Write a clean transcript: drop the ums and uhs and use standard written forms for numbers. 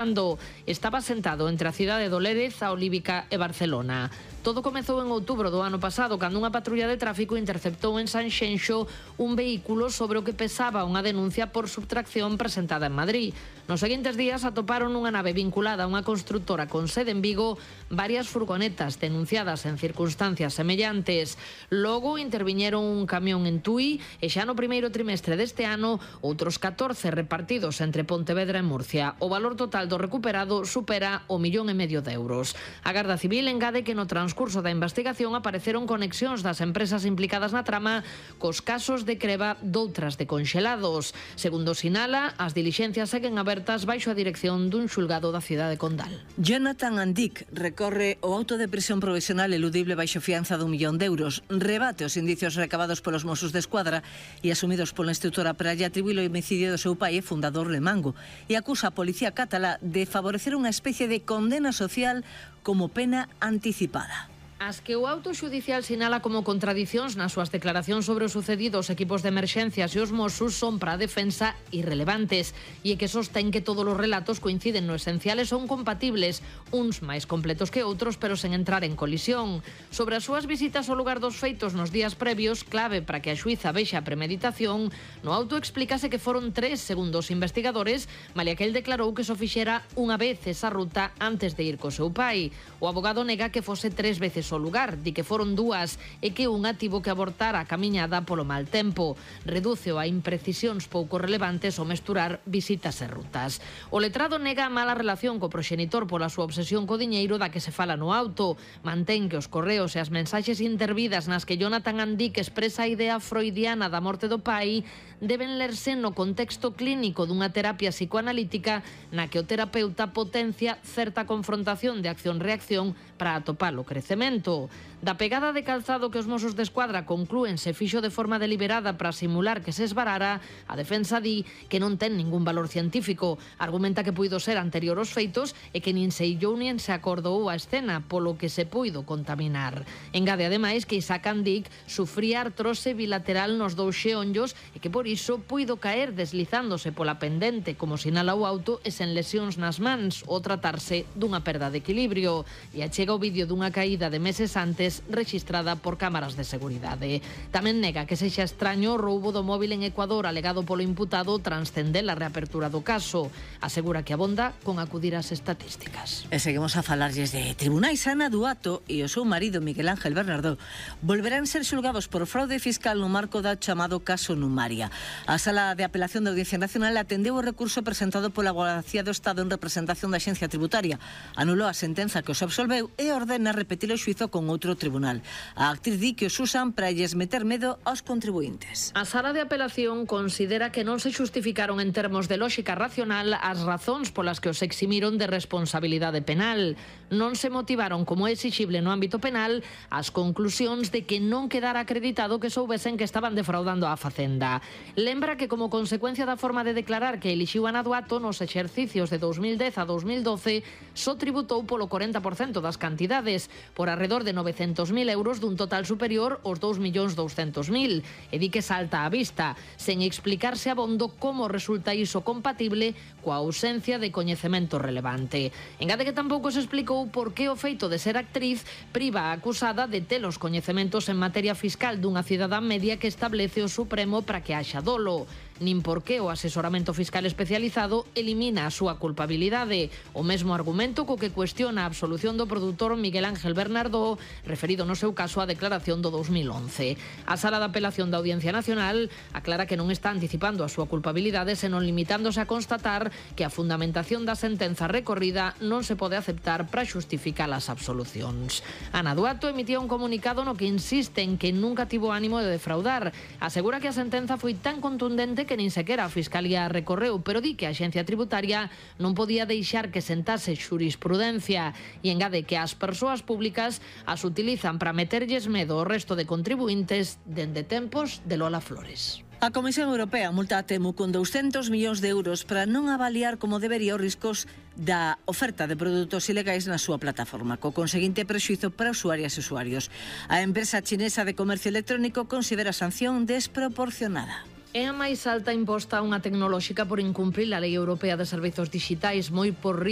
cando estaba sentado entre a cidade do Lérez, a Olívica e Barcelona. Todo comezou en outubro do ano pasado, cando unha patrulla de tráfico interceptou en Sanxenxo un vehículo sobre o que pesaba unha denuncia por subtracción presentada en Madrid. Nos seguintes días atoparon nunha nave vinculada a unha constructora con sede en Vigo varias furgonetas denunciadas en circunstancias semellantes. Logo interviñeron un camión en Tui e xa no primeiro trimestre deste ano outros 14 repartidos entre Pontevedra e Murcia. O valor total do recuperado supera o 1,5 millón de euros. A Garda Civil engade que no transcurso da investigación apareceron conexións das empresas implicadas na trama cos casos de creba doutras de conxelados. Segundo sinala, as dilixencias seguen abertas baixo a dirección dun xulgado da cidade de Condal. Jonathan Andic recorre o auto de prisión provisional eludible baixo fianza de 1 millón de euros. Rebate os indicios recabados polos Mossos de Escuadra e asumidos pola instructora para lle atribuir o homicidio do seu pai e fundador de Mango, e acusa a policía catalá de favorecer unha especie de condena social como pena anticipada. As que o auto xudicial sinala como contradicións nas súas declaracións sobre o sucedido aos equipos de emerxencias e os Mossos son para a defensa irrelevantes, e que sostén que todos os relatos coinciden no esencial e son compatibles, uns máis completos que outros, pero sen entrar en colisión. Sobre as súas visitas ao lugar dos feitos nos días previos, clave para que a xuíza vexa a premeditación, no auto explícase que foron 3 segundos investigadores, malia que el declarou que só fixera unha vez esa ruta antes de ir co seu pai. O abogado nega que fose 3 veces ao lugar, di que foron 2 e que unha tivo que abortar a camiñada polo mal tempo. Redúceo a imprecisións pouco relevantes ao mesturar visitas e rutas. O letrado nega a mala relación co proxenitor pola súa obsesión co diñeiro da que se fala no auto. Mantén que os correos e as mensaxes intervidas nas que Jonathan Andic expresa a idea freudiana da morte do pai deben lerse no contexto clínico dunha terapia psicoanalítica na que o terapeuta potencia certa confrontación de acción-reacción para atopar o crecemento. Da pegada de calzado que os Mossos de Escuadra conclúen se fixo de forma deliberada para simular que se esvarara, a defensa di que non ten ningún valor científico. Argumenta que puido ser anterior aos feitos e que nin se illou nin se acordou a escena, polo que se puido contaminar. Engade ademais que Isaac Andic sufría artrose bilateral nos 2 xeonllos e que por iso puido caer deslizándose pola pendente, como sinala o auto, e sen lesións nas mans, ou tratarse dunha perda de equilibrio. E achega o vídeo dunha caída de meses antes rexistrada por cámaras de seguridade. Tamén nega que sexa extraño o roubo do móvil en Ecuador alegado polo imputado transcender a reapertura do caso. Asegura que abonda con acudir ás estatísticas. E seguimos a falarlles de tribunais. Ana Duato e o seu marido Miguel Ángel Bernardo volverán ser xulgados por fraude fiscal no marco da chamado caso Numaria. A Sala de Apelación da Audiencia Nacional atendeu o recurso presentado pola Abogacía do Estado en representación da Axencia Tributaria. Anulou a sentenza que os absolveu e ordena repetir o xuízo con outro tribunal. A actriz di que os usan para lles meter medo aos contribuintes. A Sala de Apelación considera que non se xustificaron en termos de lógica racional as razóns polas que os eximiron de responsabilidade penal. Non se motivaron como é exixible no ámbito penal as conclusións de que non quedara acreditado que soubesen que estaban defraudando a Facenda. Lembra que como consecuencia da forma de declarar que elixiu Ana Duato nos exercicios de 2010 a 2012 só tributou polo 40% das cantidades, por arredor de 900.000 euros dun total superior aos 2.200.000, e di que salta á vista, sen explicarse abondo como resulta iso compatible coa ausencia de coñecemento relevante. Engade que tampouco se explicou por que o feito de ser actriz priva a acusada de ter os coñecementos en materia fiscal dunha cidadán media que establece o Supremo para que haxa dolo, nin por que o asesoramento fiscal especializado elimina a súa culpabilidade. O mesmo argumento co que cuestiona a absolución do produtor Miguel Ángel Bernardo, referido no seu caso á declaración do 2011. A Sala de Apelación da Audiencia Nacional aclara que non está anticipando a súa culpabilidade, senón limitándose a constatar que a fundamentación da sentenza recorrida non se pode aceptar para xustificar as absolucións. Ana Duato emitía un comunicado no que insiste en que nunca tivo ánimo de defraudar. Asegura que a sentenza foi tan contundente que nin sequera a Fiscalía recorreu, pero di que a Axencia Tributaria non podía deixar que sentase xurisprudencia, e engade que as persoas públicas as utilizan para meterlles medo ao resto de contribuintes dende tempos de Lola Flores. A Comisión Europea multa a Temu con 200 millóns de euros para non avaliar como debería os riscos da oferta de produtos ilegais na súa plataforma, co conseguinte prexuízo para usuarias e usuarios. A empresa chinesa de comercio electrónico considera a sanción desproporcionada. É a máis alta imposta a unha tecnolóxica por incumprir a Lei Europea de Servizos Digitais, moi por riba